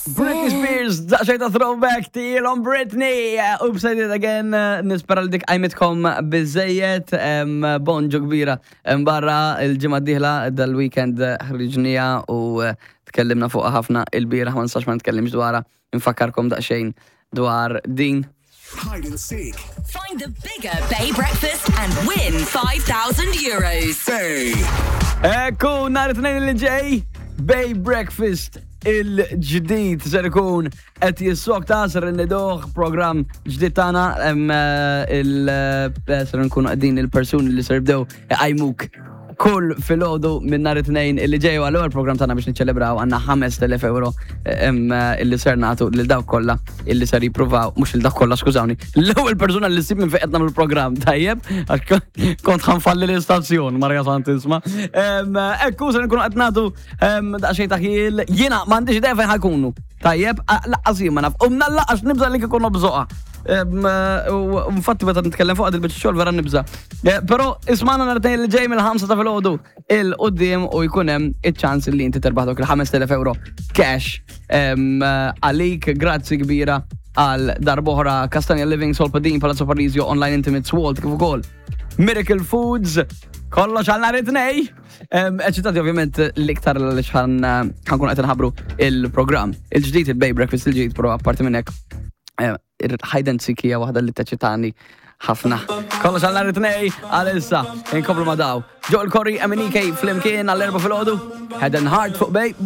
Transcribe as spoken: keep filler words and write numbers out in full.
Britney Spears, daqsxejn ta' throwback tielhom Britney. Oops, I did it again. Nispera li dik qajmitkom biżżejjed, bonġu kbira. Barra il-ġimgħa d-dieħla dal-weekend ħriġnieha u eh, tkellimna fuq ħafna il-bieraħ, ma nistax ma nitkellimx dwarha. Nfakkarkom daqsxejn dwar din. Hide and seek. Find the bigger Bay Breakfast and win five thousand euros. Bay. Ekku, nhar it-Tnejn li ġej, Bay Breakfast il-ġdid ser ikun qed jissokta, ser inniduh program ġdid tagħna hemm eh, il eh, ser nkunu qegħdin il-persuni li ser jibdew iqajmuk kull filgħodu minn nhar it-Tnejn illi ġej. Għal program tagħna biex niċċelebraw għandna ħamest elef euro hemm, eh, illi ser nagħtu lil dawk kollha illi ser jippruvaw, mhux lil dawk kollha, skużawni, l-ewwel persuna li ssib minn fejn qed nagħmlu l-programm, tajjeb, għax kont ħa nfalli l-istazzjon, Marja Santisma. Ekku, ser nkunu qed nagħtu em, daqsxejn ta' ħjiel, jiena m'għandix idea fejn ħa jkunu. Tajjeb, lanqas jien ma naf. U mnallaqax nibża li kikun bżoqa. U infatti meta nitkellem fuq il-biċċa xogħol vera nibża. Eh, Però ismagħna nhar it-Tnejn li ġej mill-ħamsa ta' filgħodu 'il quddiem u jkun hemm iċ-ċans li inti terbaħ dawk il-ħamest elef euro cash em, għalik. Grazzi kbira għal darb'oħra Castagna Living, Solpadin, Palazzo Parisio, Online Intimates Walt, kif ukoll Miracle Foods. Kollox għal nhar it-Tnejn. Eċitati ovvjament l-iktar li ħa nkun qed nħabbru il-programm il-ġdid, il-Bay Breakfast il-ġdid, però apparti minn hekk eh, il-hide and seek hija waħda li teċitani ħafna. Kollox għal nhar it-Tnejn, għalissa inkomplu ma' daw. Joel Corry, M N E K flimkien għall-erbgħa filgħodu, Head and Heart fuq Bay.